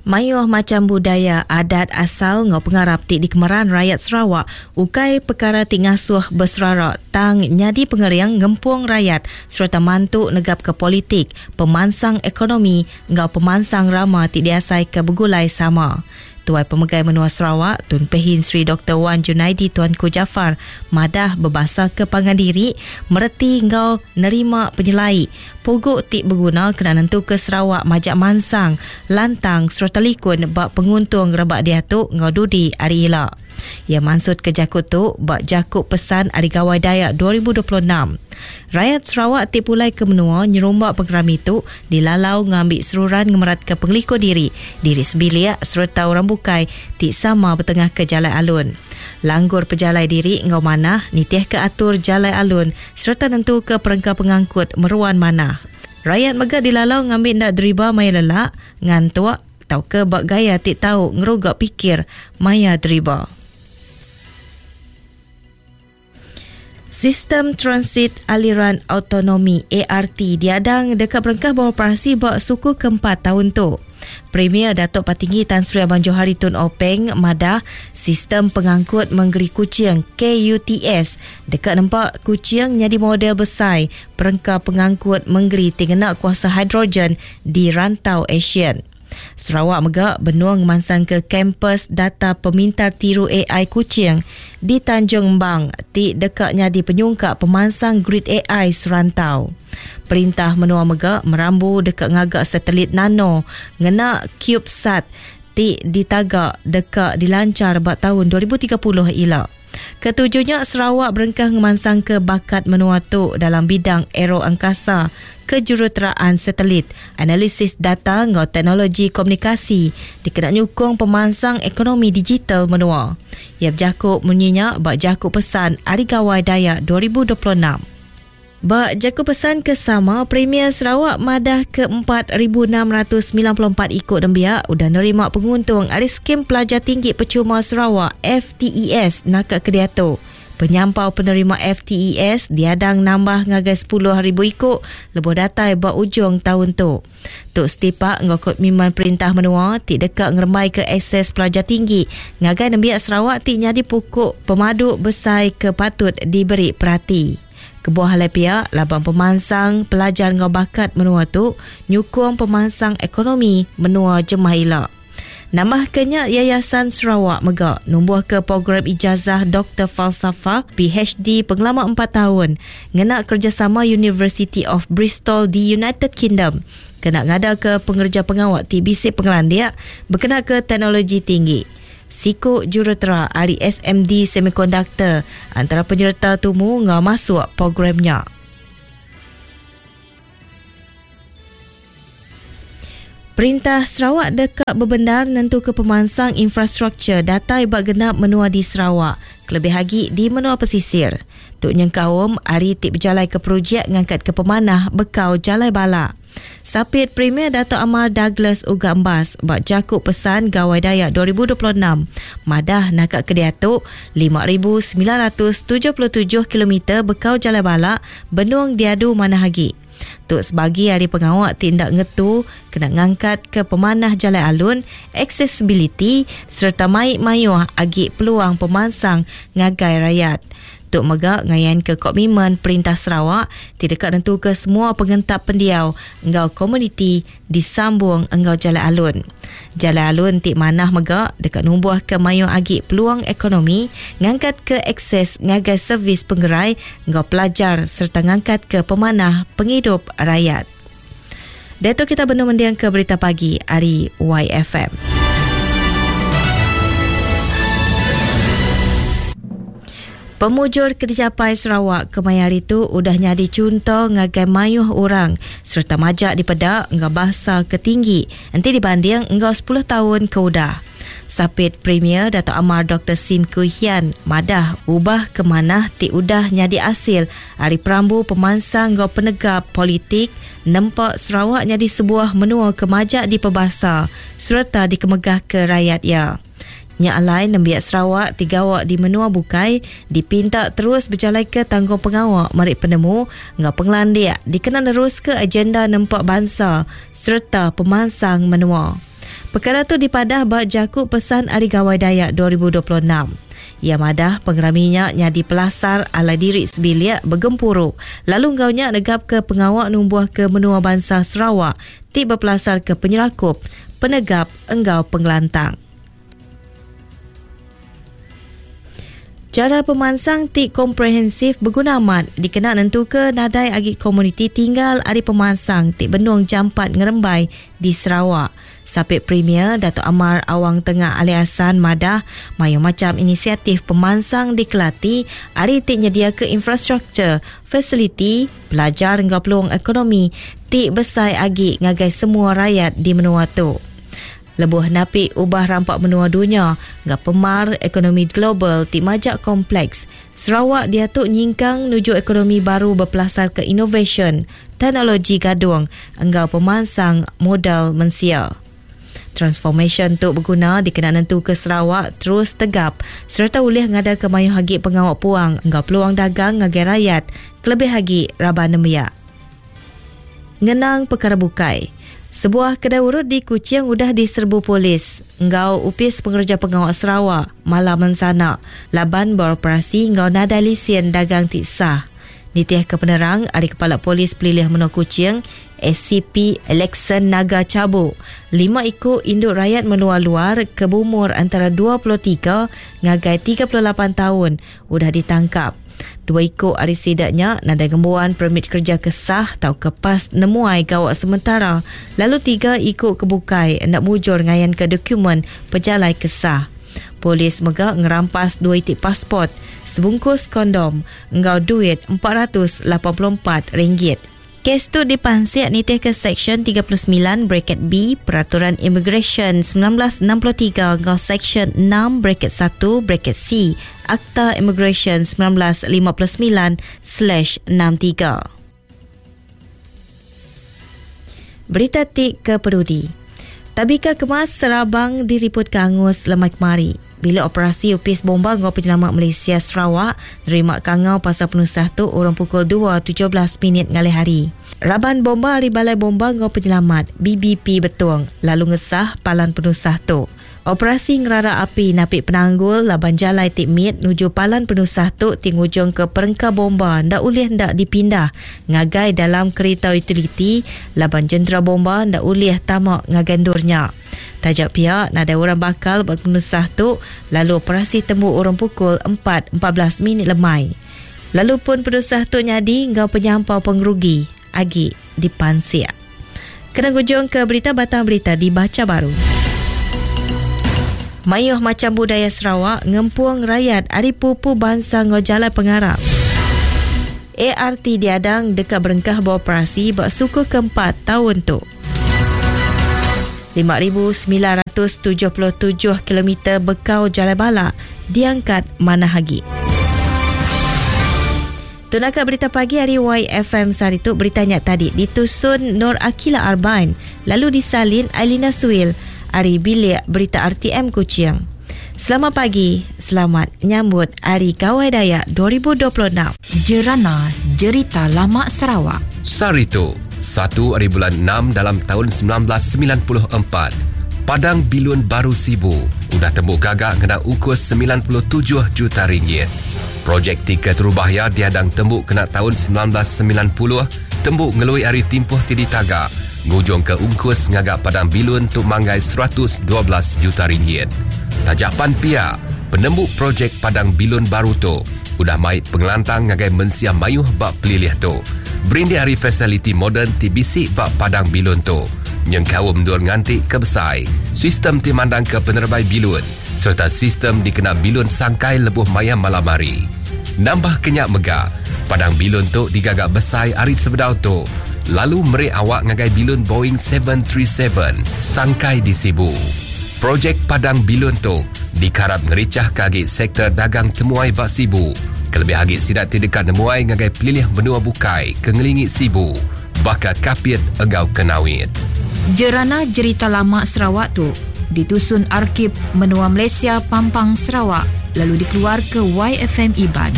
Mayuh macham budaya, adat asal enggau pengarap ti dikemeran rayat Sarawak ukai pekara ti ngasuh beserara tang nyadi pengering ngempung rayat sereta mantu negapka politik, pemansang ekonomi enggau pemansang rama ti diasaika begulai sama. Tuai Pemegai Menua Sarawak, Tun Pehin Sri Doktor Wan Junaidi Tuanku Jaafar madah bebasaka pangan diri, mereti enggau nerima penyelai pugu ti beguna kena nentuka Sarawak majak mansang, lantang sereta likun ba penguntung rebak diatu enggau dudi hari ila. Iya mansutka jaku tu ba jaku pesan Hari Gawai Dayak 2026. Rayat Sarawak ti pulai ke menua nyerumba pengerami tu dilalau ngambi seruran ngemeratka pengelikun diri, diri sebilik sereta orang bukai ti sama betengahka jalai alun. Langgur pejalai diri enggau manah nitihka atur jalai alun sereta nentuka perengka pengangkut meruan manah. Rayat mega dilalau ngambi enda deriba maya lelak, ngantuk tauka ba gaya ti tau ngeruga pikir maya deriba. Sistem Transit Aliran Autonomi, ART, diadang deka berengkah beroperasi ba suku keempat taun tu. Premier Datuk Patinggi Tan Sri Abang Johari Tun Openg madah Sistem Pengangkut Mengeri Kuching, KUTS, deka nempa Kuching nyadi model besai perengka pengangkut mengeri ti ngena kuasa hidrogen di rantau ASEAN. Sarawak mega benung ngemansangka Kampus Data Pemintar Tiru ai Kuching di Tanjung Embang ti deka nyadi penyungkak pemansang grid ai serantau. Perintah menua mega merambu deka ngaga satelit nano ngena CubeSat ti ditaga deka dilanchar ba taun 2030 ila. Ketuju nya Sarawak berengkah ngemansangka bakat menua tu dalam bidang aeroangkasa, kejuruteraan satelit, analisis data enggau teknologi komunikasi dikena nyukung pemansang ekonomi digital menua. Iya bejaku munyi nya ba jaku pesan Hari Gawai Dayak 2026. Ba jaku pesan ke sama, Premier Sarawak madah ke 4,694 iku nembiak udah nerima penguntung ari Skim Pelajar Tinggi Pechuma Sarawak, FTES, naka ke diatu. Penyampau penerima FTES diadang nambah ngagai 10,000 iku lebuh datai ba ujung taun tu. Tu setipak enggau komitmen perintah menua ti deka ngerembaika akses pelajar tinggi ngagai nembiak Sarawak ti nyadi puku pemadu besai ke patut diberi perati. Kebuah alai pia laban pemansang pelajar enggau bakat menua tu nyukung pemansang ekonomi menua jemah ila. Nambahka nya, Yayasan Sarawak mega numbuhka program Ijazah Doktor Falsafah, PhD, pengelama empat taun ngena kerejasama University of Bristol di United Kingdom kena ngadaka pengereja pengawa ti bisi pengelandik bekenaka teknologi tinggi. Siku jurutera ari SMD Semiconductor antara penyereta tumu enggau masuk program nya. Perintah Sarawak deka bebendar nentuka pemansang infrastruktur datai ba genap menua di Sarawak kelebih agi di menua pesisir. Tu nyengkaum ari ti bejalaika projek ngangkatka pemanah bekau jalai balak. Sapit Premier Datuk Amar Douglas Uggah Embas ba jaku pesan Gawai Dayak 2026 madah naka ke diatu 5,977 kilometer bekau jalai balak benung diadu manah agi. Tu sebagi ari pengawa ti enda ngetu kena ngangkatka pemanah jalai alun, aksesibiliti sereta mai mayuh agi peluang pemansang ngagai rayat. Tu mega ngayanka komitmen Perintah Sarawak ti deka nentuka semua pengentap pendiau enggau komuniti disambung enggau jalai alun. Jalai alun ti manah mega deka numbuhka mayuh agi peluang ekonomi, ngangkatka akses ngagai servis pengerai enggau pelajar sereta ngangkatka pemanah pengidup rayat. Diatu kita benung mendingka berita pagi ari YFM. Pemujur ke dijapai Sarawak kemaya hari tu udah nyadi chunto ngagai mayuh orang sereta majak dipeda enggau basa ke tinggi enti dibanding enggau sepuluh taun ke udah. Sapit Premier Datuk Amar Doktor Sim Kui Hian madah ubah ke manah ti udah nyadi asil ari perambu pemansang enggau penegap politik nempa Sarawak nyadi sebuah menua ke majak dipebasa sereta dikemegahka rayat iya. Nya alai nembiak Sarawak ti gawa di menua bukai dipinta terus bejalaika tanggungpengawa meri penemu enggau pengelandik dikena neruska agenda nempa bansa sereta pemansang menua. Pekara tu dipadah ba jaku pesan Hari Gawai Dayak 2026. Iya madah pengerami nya nyadi pelasar alai diri sebilik begempuru lalu enggau nya negapka pengawa numbuhka menua bansa Sarawak ti bepelasarka penyerakup, penegap enggau pengelantang. Chara pemansang ti komprehensif beguna amat dikena nentuka nadai agi komuniti tinggal ari pemansang ti benung jampat ngerembai di Sarawak. Sapit Premier Datuk Amar Awang Tengah Ali Hasan madah mayuh macham inisiatif pemansang dikelati ari ti nyediaka infrastruktur, fasiliti, pelajar enggau peluang ekonomi ti besai agi ngagai semua rayat di menua tu. Lebuh napi ubah rampa menua dunya enggau pemar ekonomi global ti majak kompleks, Sarawak diatu nyingkang nuju ekonomi baru bepelasarka inovasyen, teknologi gadung enggau pemansang modal mensia. Transformasyen tu beguna dikena nentuka Sarawak terus tegap sereta ulih ngadaka mayuh agi pengawa puang enggau peluang dagang ngagai rayat kelebih agi raban nembiak. Ngenang pekara bukai. Sebuah kedai urut di Kuching udah diserbu polis enggau Opis Pengereja Pengawa Sarawak malam ensana laban beroperasi enggau nadai lisin dagang ti sah. Nitihka penerang ari Kepala Polis Pelilih Menua Kuching, SCP Alexson Naga Chabu, lima iku indu rayat menua luar ke beumur antara 23 ngagai 38 taun udah ditangkap. Dua iku ari sida nya nadai ngembuan permit kereja ke sah tauka pas nemuai gawa sementara lalu tiga iku ke bukai enda mujur ngayanka dokumen pejalai ke sah. Polis mega ngerampas dua iti pasport, sebungkus kondom enggau duit RM484. Kes tu dipansik nitihka Seksyen 39 bracket B Peraturan Imigresen 1963 enggau Seksyen 6 bracket 1 bracket C Akta Imigresen 1959/63. Berita ti ke perudi. Tabika kemas Serabang diripotka angus lemai kemari. Bila operasi Opis Bomba enggau Penyelamat Malaysia Sarawak nerima kangau pasal penusah tu urung pukul 2.17 minit ngalih hari. Raban bomba ari Balai Bomba enggau Penyelamat, BBP, Betong lalu ngesah palan penusah tu. Operasi ngerara api napi penanggul laban jalai ti mit nuju palan penusah tu ti ngujungka perengka bomba enda ulih enda dipindah ngagai dalam kerita utiliti laban jentera bomba enda ulih tama ngagai endur nya. Taja pia, nadai orang bakal ba penusah tu lalu operasi tembu urung pukul 4.14 minit lemai. Lalu pun penusah tu nyadi enggau penyampau pengerugi agi dipansik. Kena ngujung ke berita batang berita dibacha baru. Mayuh macham budaya Sarawak ngempung rayat ari pupu bansa enggau jalai pengarap. ART diadang deka berengkah beoperasi ba suku keempat taun tu. 5,977 kilometer bekau jalai balak diangkat manah agi. Tu naka berita pagi hari YFM sehari tu. Berita nya tadi ditusun Nur Akila Arbain lalu disalin Ailina Suil ari bilik berita RTM Kuching. Selamat pagi, selamat nyambut Hari Gawai Dayak 2026. Jerana Jerita Lama Sarawak. Sehari tu, satu ari bulan enam dalam taun 1994, Padang Bilun Baru Sibu udah tembu gaga ngena ungkus 97 juta ringgit. Projek ti keterubah iya diadang tembu kena taun 1990, tembu ngelui ari timpuh ti ditaga, ngujungka ungkus ngaga padang bilun tu manggai 112 juta ringgit. Taja pan pia, penembu projek padang bilun baru tu udah mai pengelantang ngagai mensia mayuh ba pelilih tu. Berindik ari fasiliti moden ti bisi ba padang bilun tu, nyengkaum endur nganti ke besai, sistem ti mandangka penerebai bilun sereta sistem dikena bilun sangkai lebuh maya malam hari. Nambah ke nya mega, padang bilun tu digaga besai ari sebedau tu lalu meri awak ngagai bilun Boeing 737 sangkai di Sibu. Projek padang bilun tu dikarap ngerichahka agi sektor dagang temuai ba Sibu, kelebih agi sida ti deka nemuai ngagai pelilih menua bukai ke ngelingi Sibu baka Kapit enggau Kenawit. Jerana Jerita Lama Sarawak tu ditusun Arkib Menua Malaysia Pampang Sarawak lalu dikeluarka YFM Iban.